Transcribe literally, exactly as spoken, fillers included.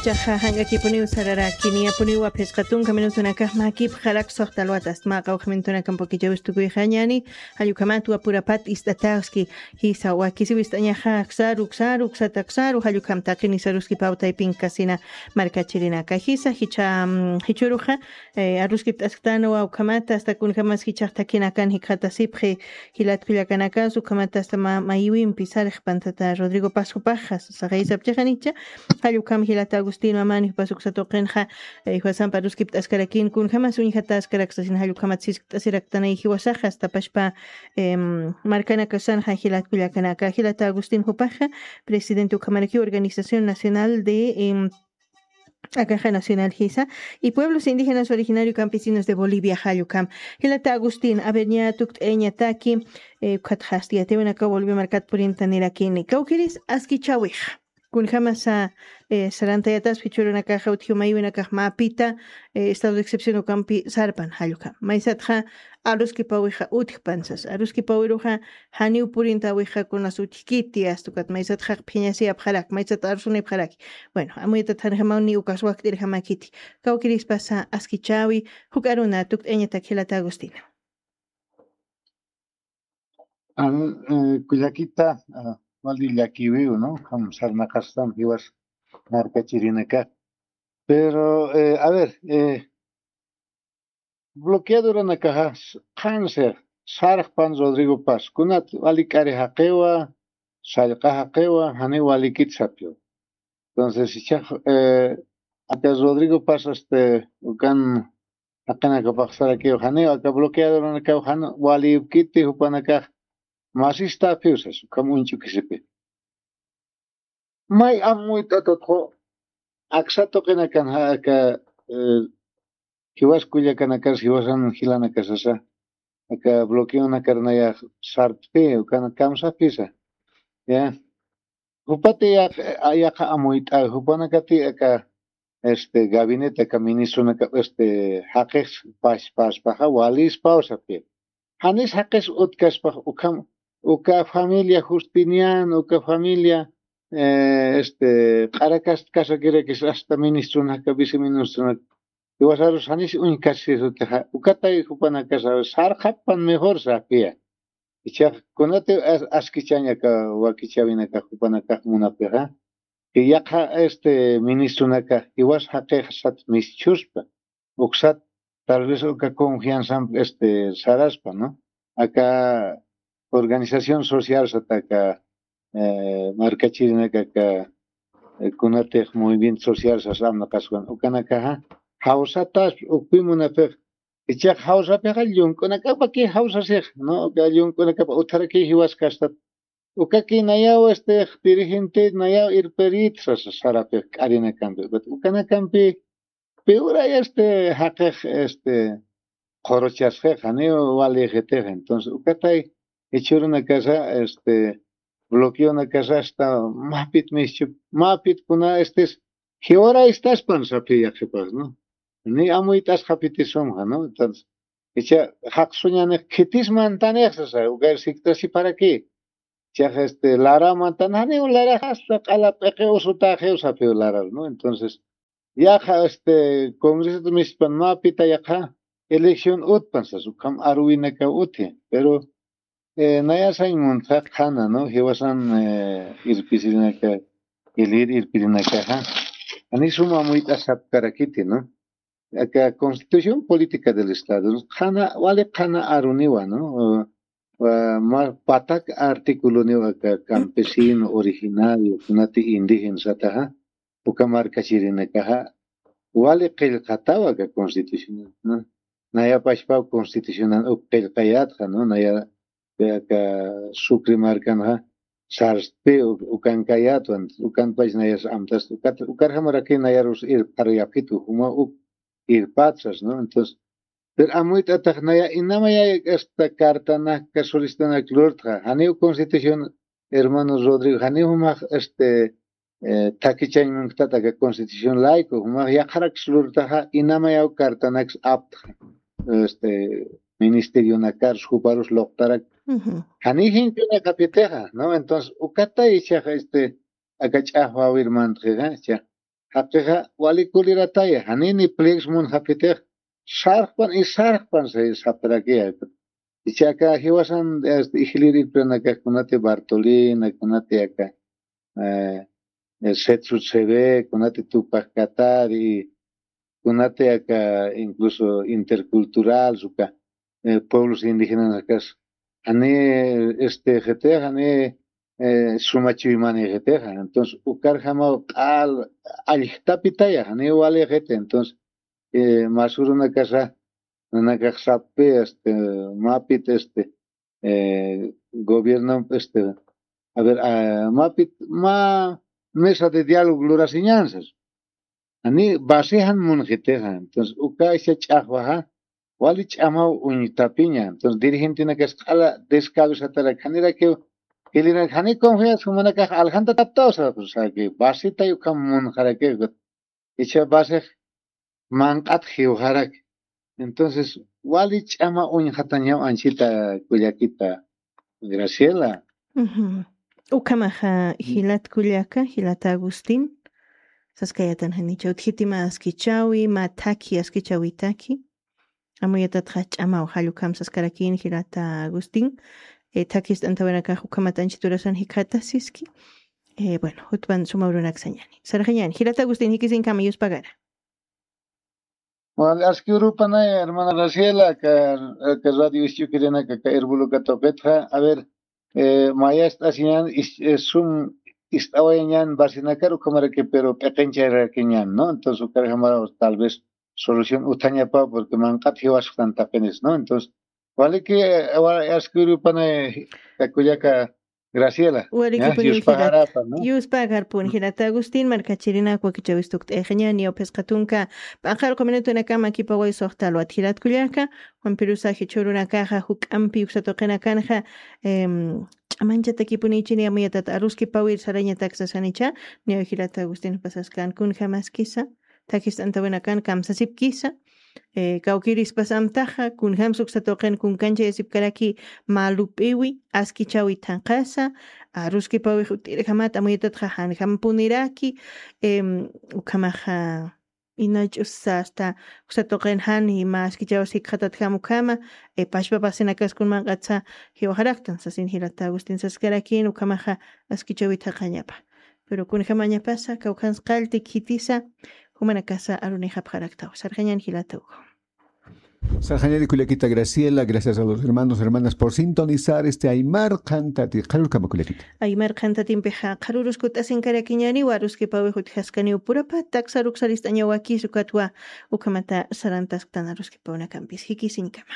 Chaxa jank'akipuniw sararaki, niyapuniw aphisqa tunka minutunakax makipxarak suxta alwata astmaqa ukhmintunakampukichavist'ukuyxañani. Jallukhamat wapurapat ist'ataski jisa wakisiw ist'añaxa aksaru aksaru aksata aksaru jallukhamtaqini saruski pawtaypin kasina. Markachirinaka jisa jicha jichuruxa aruskipt'asktanwa ukhamata asta kunjamas jichaxtakinakan jikxatasipxi. Jilatkullakanakas ukhamata asta mayiwimpi sarixpan tata rodrigo pascopaxa sasaxaysapchixanicha. Jallukam jilata agustin mamani jupasuksatuqinxa juwasampa aruskipt'askarakin kunjamas uñjataskaraksasina jallukamat siskipt'asiraktanay jiwasaxa asta pashpa markanakasanxa jilatkullakanaka jilata agustin jupaxa presidente ukhamarakiw organización nacional de akaja nacional jisa y pueblos indígenas originario campesinos de bolivia jallukam. Jilata agustin averña tukt'eñataki. Ukhatxasti yatiwinaka bolivia markat purinta nirakini kawkiris askichawixa. Kunjamasa sarantayataspi churunakaxa utjiw maywinakax mapita estado de excepción ukampi sarpan jallukam maysatxa aruskipawixa utjpan sasa aruskipawiruxa janiw purintawixa kunas utjkiti astukat maysatxaq phiñasiyapxarak maysat arusunipxaraki. Bueno amuytat janjamaw ni ukas wakt'irjamakiti kawkirispasa askichawi juk'aruna tukt'añatak jilata agustina. Kullakita wali llakiwiw no kam sarnaqastam jiwas markachirinaka. Pero a ver bloqueaduranakaxa qhansi sarxpan rodrigo paz kunat wali k'ari jaqiwa sallqa jaqiwa janiw walikit sapiwa. Entonces ichax aka rodrigo paz este ukan jaqinakapax sarakiw janiw aka bloqueaduranakaw jan walipkiti jupanakax masistapiw sas ukham uñch'ukisipi. May amuyt'atatxu aksa tuqinakan ja aka jiwas kullakanakar jiwasan jilanakasasa aka bloqueonakar nayax sartpi ukan kamsapisa. Ya jupati yaq yaqa amuyt'awi jupanakati aka este gabinete aka ministronakap este jaqix pashpaspaxa walispaw sapir janis jaqis utkaspax ukham uka familia justinian uka familia este q'arakast kasakirakis asta ministronaka viceministronaka iwasarus janis uñkasisutixa ukatay jupanakasa sarxappan mejor sapia. Ichax kunati askichañaka wakichawinaka jupanakax munapixa yaqha este ministronaka jiwas jaqixsat mischuspa uksat tal vez uka confianzamp este saraspa no aka organización social sata aka markachirinaka aka kunatix movimiento social sas amnaqaswan ukanakaxa jawsataspa ukpi munapix ichax jawsapixa llunk'unakapaki jawsasix no uka llunk'unakapa utharaki jiwaskastat ukaki nayaw este dirigente nayaw irperit sasa sarapix k'arinakampi ukanakampi piwray este jaqix este qhuruchasxix janiw walixitix entonces ukatay jichhürunakasa este bloqueonakasa asta mapit mischup mapit kuna estis jiwaraystaspan saphi yaqhipax no ni amuyt'asxapitisumxa no entonces icha jaqsuñanix khitis mantanix sasa ukar sikt'asiparaki chax este laraw mantan janiw larax asta q'ala p'iqi usutaxiw saphiw larar no entonces yaqa este congresat mispan mapita yaqa elección utpan sas ukham aruwinakaw uthi pero nayasañ muntxa qhana no jiwasan irpisirinaka ilir irpirinakaxa jani suma amuyt'asapkarakiti no aka constitución política del estado qhana wali qhana aruniwa no ma patak articuloniw aka campesino originario kunati indígena sataxa uka markachirinakaxa wali qillqataw aka constitucional no nayapachpaw constitucional uk qillqayatxa no naya aka sucre markanxa sarstpi ukankayatwan ukanpach nayas amtast ukarjamaraki nayarus irpharuyapxitu juma uk irpatsas no entonces pero amuyt'atax naya inamayay asta cartanaka suristanak lurtxa janiw constitución hermano rodrigo janiw jumax este thakichañ munktat aka constitución layku jumax yaqharaks lurtaxa inamayaw cartanaks aptxa este ministerionakars juparus luqtarak janiw jink'unakapitixa no entonces ukatay ichaxa este aka ch'axwawir mantxixa icha jaqixa wali kulirataya, janini pliegos munxapitix, sarxpan y sarxpan sapirakï. Ichaka jiwasan, este, ijlir irpiranakax kunati Bartolina, kunati aka, eh, eh, Setsu Tseve, kunati Tupac Katari, kunati aka incluso intercultural, uka, eh, pueblos indígenas akas. Ani, este, jete, ani, eh, suma chuymani jete. Entonces, ukar jama q'al, aljtapitaya, ani wali jete. Entonces, eh, masurunakasa, nanakaxsapi, este, mapit, este, eh, gobierno, este, a ver, ah, mapit, ma mesa de diálogo lurasiñansas. Ani basijan munxitixa. Entonces, uka isa ch'axwaxa, wali ch'amaw uñtapiña. Entonces, dirigentinakas q'ala descabezatarak, janirakiw, jilina, jani confianza jumanakax aljanta taptawsa, o sea, que basitay ukham munxaraki, icha basix manq'at jiwxarak. Entonces, wali ch'ama uñxatañaw anchita kullakita Graciela. Ujú. Ukhamaxa jilat kullaka, jilat Agustín, saskayatan janicha utjiti mä askichawi, mä thakhi askichawitaki. Amuyatatxa ch'amaw jall ukham saskarakïn jilata Agustín, eh, thakhist'antawinakax ukhamat anchit urasan jikxatasiski. Eh, bueno, jutpan suma urunak sañani. Sarxañani, jilata Agustín, jikisinkama yuspagara. Wal, aski urupanay, hermana Graciela, aka, aka radio Isch'ukirinaka, aka Herbuluka tuqitxa. A ver, eh, mayast'asiñan, is-, eh, sum ist'awayañan basinakar ukhamaraki, pero p'iqincharakiñan, ¿no? Entonces, ukarjamaraw tal vez solución utjañapa, porque manq'at jiwasxtan taqinis, ¿no? Entonces, waliki, eh, wa-, aski urupanay, aka kullaka Graciela, ¿ya? Warikipuniw jilat. Yuspagarapa, ¿no? Yuspagarpun jilata Agustín, markachirinak wakichäwis tukt'ayxiñäni, phisqa tunka p'aqallqu minutunakama kipaway suxta alwat jilat kullaka, Juan Pirusa jichhürunakaxa juk'ampi uksa tuqinakanxa, em, ch'amanchatakipunïchini amuyatat aruskipawir sarañatak sasanicha, niyaw jilata Agustín pasaskan kunjamaskisa, thakhist'antawinakan kamsasipkisa, eh, kawkirispas amtaxa, kunjams uksa tuqin kunkanchayasipkaraki mä lup'iwi, askichawi thanqasa, aruskipawix ut'irjamat amuyatatxa janjampuniraki, em, ukhamaxa, inach'usa hasta uksa tuqin jan y mä askichawas jikxatatjam ukhama, eh, pachpa pasinakas kun manq'atsa jiwaxaraktan, sasin jilata Agustín saskarakin, ukhamaxa askichawi thaqañapa. Pero kunjamañapasa, kawkhans qallti khitisa, jumanakasa arunixapxaraktaw. Sarxañan jilata Hugo. Sarxañani kullakita Graciela, gracias a los hermanos, hermanas por sintonizar este Aymar Qhantati. Qharürkama kullakita. Aymar Qhantatimpixa, qharürus kut'asinkarakiñani, waruskipawix utjaskaniw purapa, taksar uksarist'añawakis ukatwa, ukhamata sarantasktan aruskipawinakampis. Jikisinkama.